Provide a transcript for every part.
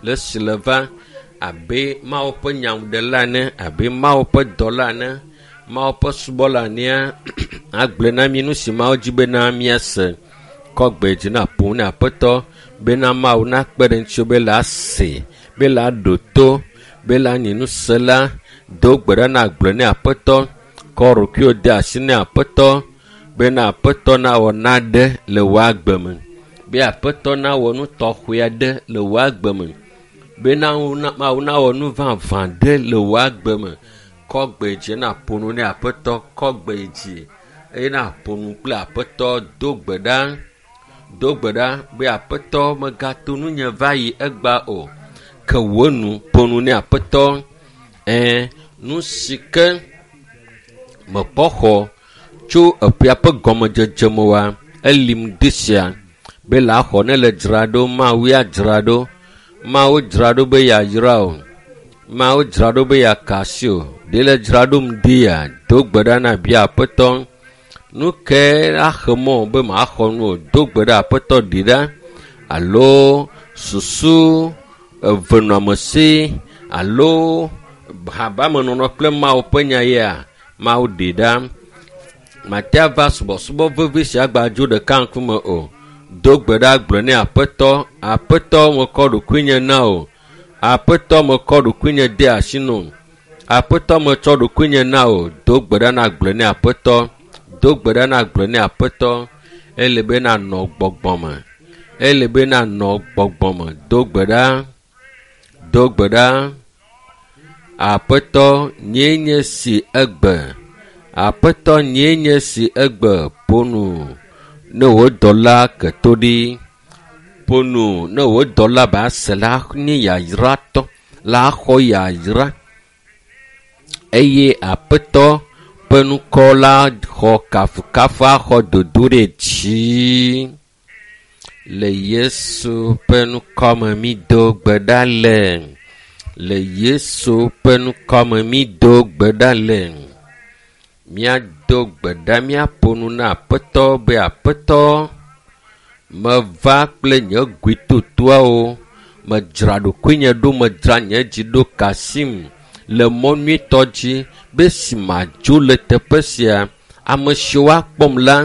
Le esi le va abe Mawu ƒe nyaŋuɖela ene, abe Mawu ƒe dɔla ene, Mawu ƒe subɔla enea, agblɔe na mí nu si Mawu dzi bena míase. Kɔ gbe dzi na ƒo na Aƒetɔ bena Mawu nakpe ɖe ŋutiwò be la se, be la ɖo to, be la nyi nusela. Do gbe ɖa na gblɔe ne Aƒetɔ. Kɔ ɖokuiwò de asi ne Aƒetɔ bena Aƒetɔ nawɔ naɖe le wò agbe me. Be Aƒetɔ nawɔ nu tɔxɛ aɖe le wò agbe me. Bena Mawu nawɔ nu vavã ɖe le wò agbe me. Kɔ gbe dzi na ƒo nu ne Aƒetɔ. Kɔ gbe dzi eye na ƒo nu kple Aƒetɔ. Do gbe ɖa. Do gbe ɖa be Aƒetɔ megato nunye va yi egba o. Ke wò nu ƒo nu ne Aƒetɔ. Ɛ̃, nu si ke mekpɔ xɔ tso eƒea ƒe gɔmedzedze me oa, elim de sia be la xɔ ne le dzra ɖo Mawu ya dzra ɖo. Mawu dzra ɖo be yeayra o. Mawu dzra ɖo be yeaka asi o. Ɖe le dzra ɖo ŋdi ya do gbe ɖa na bia Aƒetɔ. Nu ke axe mɔ be maxɔ nu o. Do gbe ɖa Aƒetɔ ɖi ɖa alo susu evenɔamesi alo habamenɔnɔ kple Mawu ƒe nya yea Mawu ɖi ɖa. Mate ava subɔsubɔ vevi sia gbadzo ɖeka ŋkume o. Do gbe ɖa gblɔ ne Aƒetɔ, Aƒetɔ mekɔ ɖokuinye na o. Aƒetɔ mekɔ ɖokuinye de asi na o. Aƒetɔ metsɔ ɖokuinye na o. Do gbe ɖa na gblɔ ne Aƒetɔ. Do gbe ɖa na gblɔ ne Aƒetɔ. Ele be nanɔ gbɔgbɔ me. Ele be nanɔ gbɔgbɔ me. Do gbe ɖa. Do gbe ɖa. Aƒetɔ nyee nye si egbe. Aƒetɔ nyee nye si egbe. Ƒo nu ne wò dɔla ke to ɖi. Ƒo nu ne wò dɔla ba se la nye yayratɔ la xɔ yayra eye Aƒetɔ ƒe ŋkɔ la xɔ kafukafu axɔ dodo ɖe dzi. Le Yesu ƒe ŋkɔ me mído gbe ɖa le. Le Yesu ƒe ŋkɔ me mído gbe ɖa le. Míado gbe ɖa míaƒo nu na Aƒetɔ be Aƒetɔ meva kple nye goetotoawo. Medzra ɖokuinye ɖo, medzra nye dzi ɖo kasim le mɔ nyuitɔ dzi be si madzo le teƒe sia. Ame siwo akpɔm la,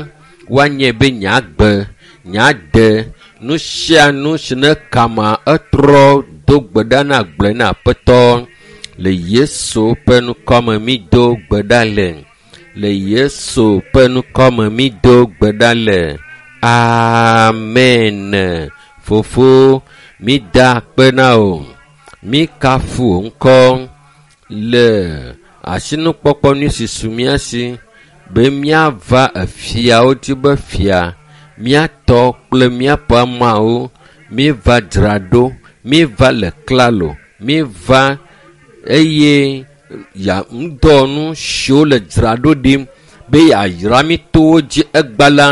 woanye be nye agbe, nye ade, nu sia nu si ne kama etrɔ do gbe ɖa na gblɔe na Aƒetɔ. Le Yesu ƒe ŋkɔ me mído gbe ɖa le. Le Yesu ƒe ŋkɔ me mído gbe ɖa le. Amen. Fofo, mída akpe na wò. Míkafu wò ŋkɔ le asinukpɔkpɔ nyui si su mía si be míava efiawo dzi be fia míatɔ kple míaƒe ameawo míeva dzra ɖo míeva le klalo míeva eye ya ŋudɔwɔnu siwo le dzra ɖo ɖim be yeayra mí to wo dzi egba la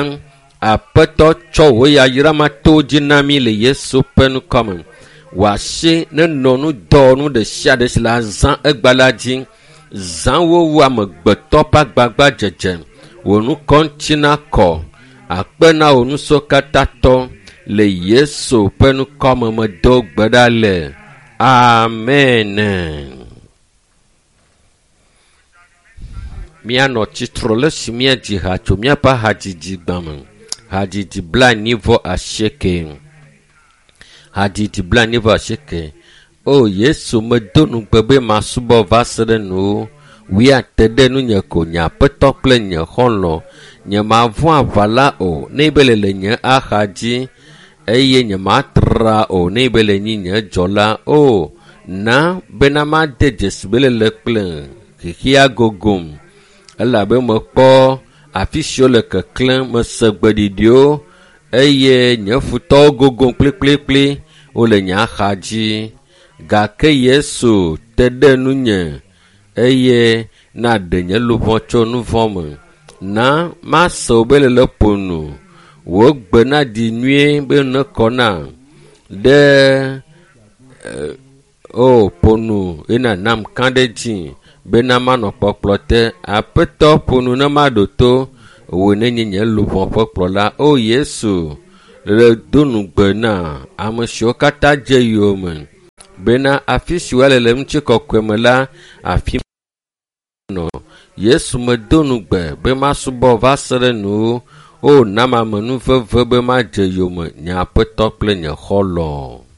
Aƒetɔ tsɔ wò yayra ma to wo dzi na mí le Yesu ƒe ŋkɔ me. Wò asi nenɔ ŋudɔwɔnu ɖe sia ɖe si le azã egba la dzi. Zã wo wu amegbetɔ ƒe agbagbadzedze. Wò ŋkɔ ŋuti nakɔ. Akpe na wò nusrɔ̃katãtɔ le Yesu ƒe ŋkɔ me medo gbe ɖa le. Amen. Míanɔ tsitre le esi míadzi ha tso míaƒe hadzidzi gbã me. Hadzidzi 89. Hadzidzi 89. O Yesu medo nugbe be masubɔ va se ɖe nuwo. Wuiate ɖe nunye ko nye aƒetɔ kple nye xɔlɔ̃. Nye mavɔ̃ aʋa la o ne be le le nye axa dzi eye nye matra o ne be le nyi nye dzɔla o. Na bena made dzesi be le kple xexea gogom elabe mekpɔ afi siwo le keklẽm mese gbeɖiɖiwo eye nye futɔwo gogom kplikplikpli wole nye axa dzi gake Yesu te ɖe nunye eye naɖe nye luʋɔ tso nu vɔ̃ me. Na mase wò be lele ƒo nu wò gbe naɖi nyuie be nekɔ na ɖe o ƒo nu eye nànam kã ɖe dzi bena manɔ kpɔkplɔ te. Aƒetɔ ƒo nu ne maɖo to wò nenye nye luʋɔ ƒe kplɔla. O Yesu, le do nugbe na ame siwo katã dze yowòme. Bena afi si woale le ŋutikɔkɔe me la, afi nɔ. Yesu medo nugbe be masubɔ va se ɖe nuwo. O, nam amenuveve be madze yome nye Aƒetɔ kple nye xɔlɔ̃.